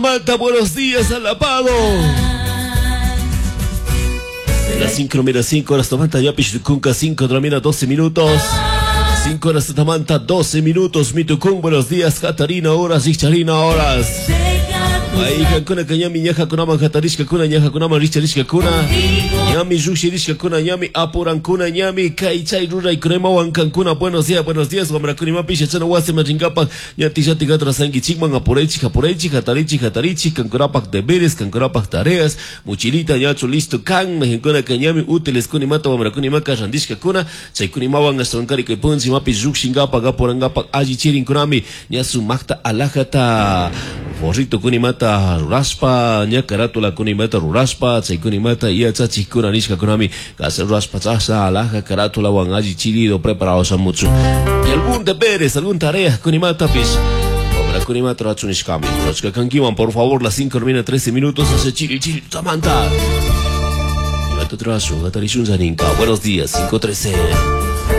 Manta, buenos días, Alapado. Las 5 mira 5 horas tomanta ya pichucunca 5 de la mina 12 minutos. 5 horas tamanta 12 minutos. Mitucún, buenos días, Catarina, horas, Richarina, horas. Kuna ñami ñajakunaman hatarishkakuna ñajakunaman richarishkakuna ñami llushirishkakuna ñami apurankuna ñami kay chay ruraykunawan kankuna. Buenos días, buenos días, wamrakunimapish yachana wasiman rinkapak ñati llati atrasankichikman apuraychik apuraychik hatarichik hatarichik kankunapak deberes kankunapak tareas. Mochilita ñachu listo kan mayqinkunaka ñami útiles kunimata wamrakunimaka rantishkakuna chaykunimawan ashtawankari kay punchimapish llukshinkapak apurankapak allichirinkunami ña sumakta alajata forrito kunimata rurashpa ña carátula kunimata rurashpa chaykunimata yachachikuna nishkakunami kasa rurashpa chasha alaja carátulawan allichirido preparado shamuchu y algún deberes algún tarea kunimatapish wamrakunimata rurachun nishkami. Rurashka kankiman, por favor. Las 5 termina 13 minutos hace chiri chiri tamanta imata trashu hatarishun zaninka. Buenos días, 5:13.